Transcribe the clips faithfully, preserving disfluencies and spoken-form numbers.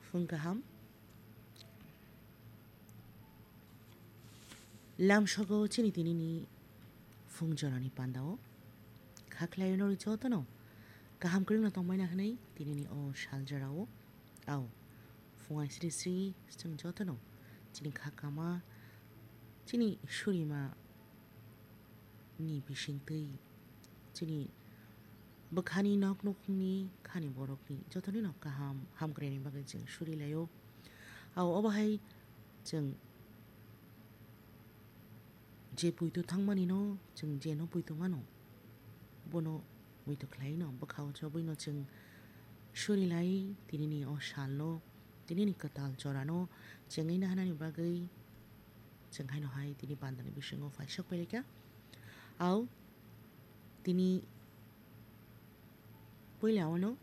Phung kaham. Lamsogo chini tinini phung jorani pandao. Khaklai norwi jotono kaham kwrwngno tongbaina hwnwi tinini o sal jorao. Ao, phung ai sri sri chwng jotono chini kha kama, chini surima ni bisingtwi, chini bwkhani nok nukhungni khani borokni jotonino kaham hamkraini bagwi chwng surilaio. Ao obo hai chwng je puitu thangmanino chwng jeno puitu mano, bono muitu khlaino bwkhao chobwino chwng surilai tinini o salno, tinini kwtal jorano chengwi nahanani bagwi chwng haino hai tini pandani bisingo phaisok pailaikha. Ao tini puila ono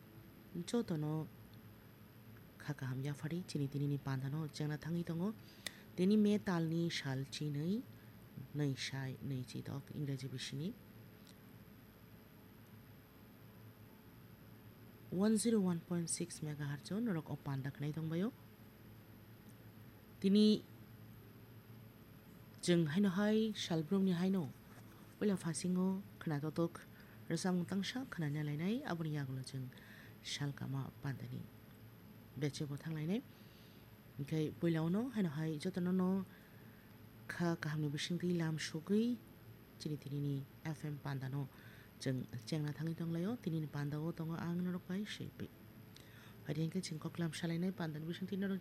jotono kha kaham yaphari chini tinini pandano chengna thangwi tongo. Tini May talni sal chinwi nwi sai nwi chidok Ingreji bisini. One zero one point six megahertz o norok o panda khnai tongbaio. Tini chwng haino hai salbrumni haino puila phasingo khwnatotok rwchapmung tangsa khwnana lainai, aboni yagulo chwng salkama pandani bechebo thanglainai. Hinkhe puila ono haino hai jotono no kha kahamni bisingtwi lam sugwi chini tinini F M pandano chwng chengna thangwi tonglaio. Tinini pandao tongo ang norok bai Silpi. Phaidi hinkhe chwng koklam salainai pandani bisingtwi norok